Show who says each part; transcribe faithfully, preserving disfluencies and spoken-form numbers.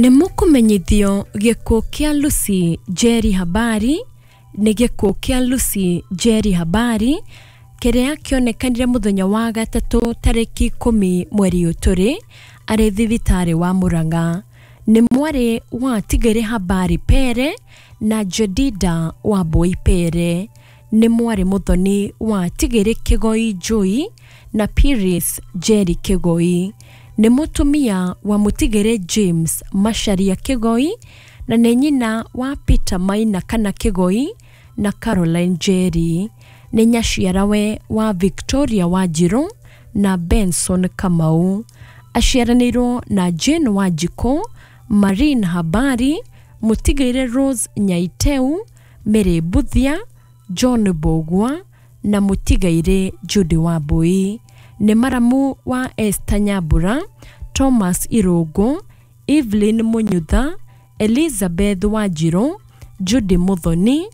Speaker 1: Nĩ mũkũmenyithio gĩkuũ kĩa Lucy Njeri Habari. Nĩ gĩkuũ kĩa Lucy Njeri Habari kĩrĩa kĩonekanire mũthenya wa gatatũ tarĩki ikũmi mweri ũyũ tũrĩ arĩ thibitarĩ wa Murang'a. Nĩ mwarĩ wa Tigere Habari Pere na Jedida Wambui Pere. Nĩ mwarĩ mũthoni wa Tigere Kĩgoi Njui na Piris Njeri Kĩgoi. Nĩ mũtumia wa Mũtigere James Macharia Kĩgoi na nĩ nyina wa Peter Maina kana Kĩgoi na Caroline Njeri. Nĩ nyaciarawe wa Victoria Wanjirũ na Benson Kamau. Aciaranĩirwo na Jane Wanjikũ, Maureen Habari, Mũtigĩre Rose Nyaiteu, Mary Mbuthia, John Mbũgua na Mũtigairĩ Judy Wambui. Nĩ maramu wa Esther Nyambura, Thomas Irũngũ, Evelyn Munyutha, Elizabeth Wanjirũ, Judy Muthoni.